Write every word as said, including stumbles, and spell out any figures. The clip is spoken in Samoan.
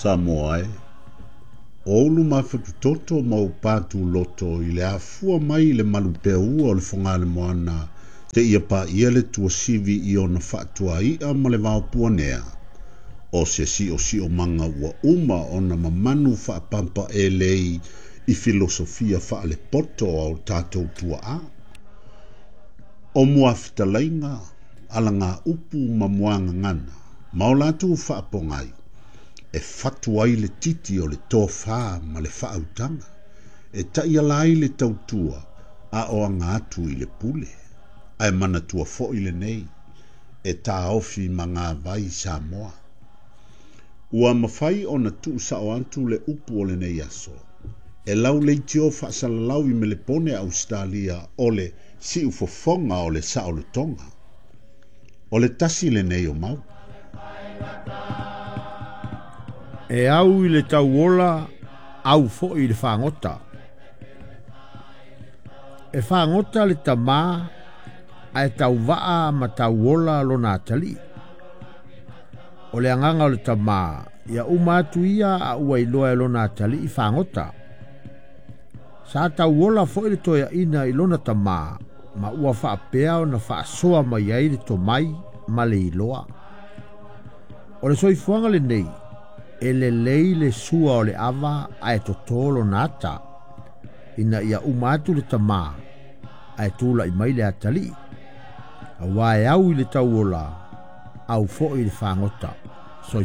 Samoa e, o ulu mafatutoto ma o patu loto i le afua mai i le malupeaua o le Fogalemōana te ia pāia le tuasivi i ona fa'atua'i'a ma le vaopuanea o se si'osi'omaga ua uma ona mamanu fa'apampa'elei i filosofia fa'alepoto a o tatou tua'a o muafitalaiga alagāupu ma muagagana ma o latou fa'apogai e fatu ai le titi o le tofā ma le fa'autaga e ta'iala ai le tautua a o aga atu i le pule ae manatua fo'i lenei e tāofi magāvai Samoa. Ua mafai ona tu'usa'o atu le upu o lenei aso e lauleitio fa'asalalau i Melepone Ausetalia o le si'ufofoga o le sa'olotoga. O le tasi lenei o mau. E au i le tauola, au fo'i i le fagota. E fagota le tamā ae tauva'a ma tauola lona atalii. O le agaga o le tamā, ia uma atu ia a ua iloa e lona atalii fagota. Sa tauola fo'i le toeaina i lona tamā, ma ua fa'apea ona fa'asoa mai ai le tomai ma le iloa. O le soifuaga lenei, e lelei le sua o le ava ae totō lona ata, ina ia uma atu le tamā, ae tula'i mai le atalii. Auā e au i le tauola, au fo'i i le fagota. Soifua.